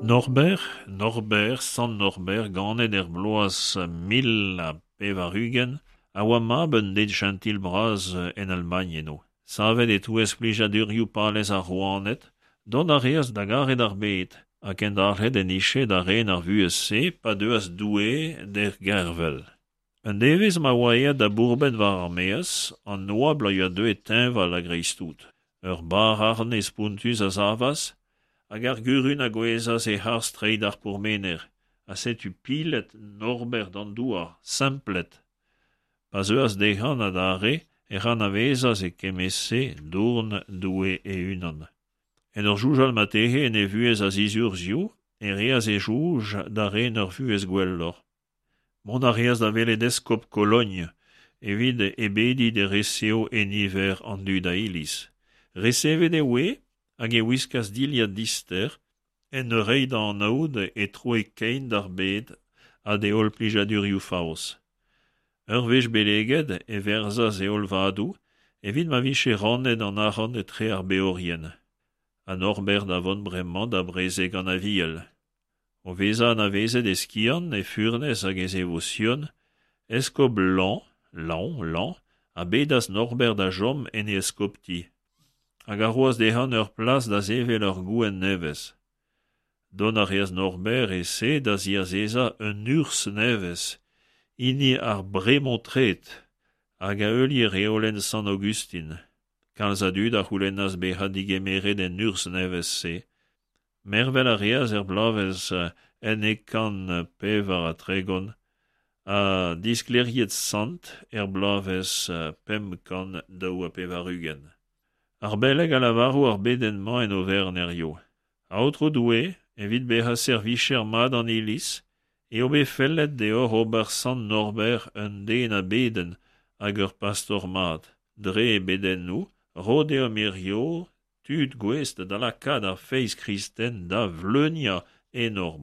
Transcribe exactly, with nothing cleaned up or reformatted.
Norbert, Norbert, sant Norbert, ganet er bloaz mil ha pevar-ugent, a oa mab un den chentil bras en Almagn eno. Savet e-touez plijadurioù palez ar rouaned, dont a reas da garet ar bed, ha kendalc'het en dije da ren ar vuhez-se pa deuas Doue d'er gervel. Un devezh ma oa aet da bourmen war ar maez, an oabl a yoa deuet teñval a-greiz-tout. Ur barr-arne spontus a savas, hag ar gurun a gouezhas e-harz treid ar pourmener, ha setu pilet Norbert d'an douar, semplet. Pa zeuas dezhañ adarre ec'h anavezas e kement-se dourn Doue e-unan. En ur soñjal marteze en e vuhez a zizurzhioù e reas e soñj da ren ur vuhez gwelloc'h. Mont a reas da welet eskob Kologn evit e bediñ d'e resev e niver an dud a iliz. Resevet e voe hag e wiskas dilhad dister en ur reiñ da anaout e troe kein d'ar bed ha d'e holl plijadurioù faos. Ur wech beleget e werzhas e holl vadoù evit ma vije rannet an arc'hant etre ar beorien. Ha Norbert da vont bremañ da brezeg an Aviel. O vezañ anavezet e skiant, e furnez hag e zevosion, eskob Laon, Laon, Laon, a bedas Norbert da chom en e eskopti, hag a roas dezhañ ur plas da sevel ur gouent nevez. Dont a reas Norbert e-se da ziazezañ un urzh nevez, hini ar Bremontred, hag a heulie reolenn Sant Aogustin. Kalz a dud a c'houlennas bezañ degemeret en urzh nevez-se. Mervel a reas er bloavezh unnek kant pevar ha tregont ha disklêriet sant er bloavezh pemp kant daou ha pevar-ugent. Ar beleg a lavaro ar bedenn-mañ en oferenn hiziv. Aotrou Doue, evit bezañ servijer mat an Iliz, eo bet fellet deoc'h ober sant Norbert un den a bedenn hag ur pastor mat. Dre e bedennoù, ro deomp hiziv tud gouest da lakaat ar feiz kristen da vleuniañ en hor bro.